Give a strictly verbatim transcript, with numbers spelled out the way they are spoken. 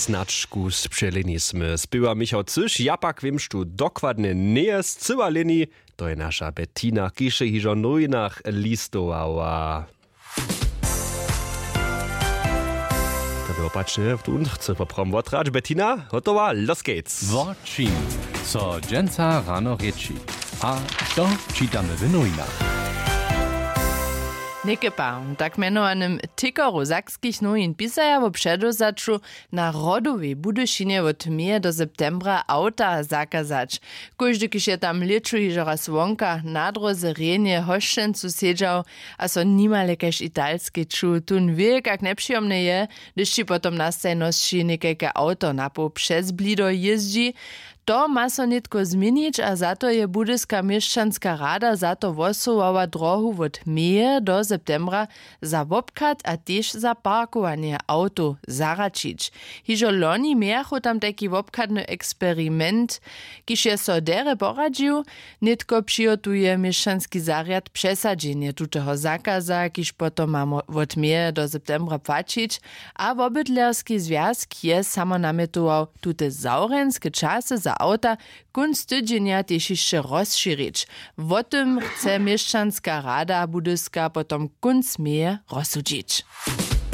Značku spřeleni smy spěwa michał cyš, ja pak wěmš tu dokładnje njeje scyła leni. To je naša bettina kiž je hižo w nowinach listowała. To było pačne w tu chce poprawom wotrać bettina hotowa loskec. Wo čim so dźensa rano rěči, a to čitamy w nowinach. Někepa w tak mjenowanym tikoru sakskich nowin pisaja wo předewzaću na rodowej budyšinje wot meje do septembra awta zakazać. Kóždy kiž je tam lěću hižo raz wonka na dróze rjenje hosćencu sedźał a so nimale kaž italskej čuł tón wě kak njepřijomne je, hdyž ći potom na stajnosći někajke awto napoł přez blido jězdźi. To ma so nětko změnić a za to je budyska měšćanska rada za to hłosowała drohu wot meje do septembra za wobchad a tež za parkowanje awtow zahraćić. Hižo loni mějachu tam tajki wobchadny eksperiment, kiž je so derje poradźił. Nětko přihotuje měšćanski zarjad přesadźenje tuteho zakaza kiž potom ma wot meje do septembra płaćić. A wobydlerski zwjazk je samo namjetował tute zawrjenske časy za awta kónc tydźenja tež hišće rozšěrić. Wo tym chce měšćanska rada budyska potom kónc meje rozsudźić.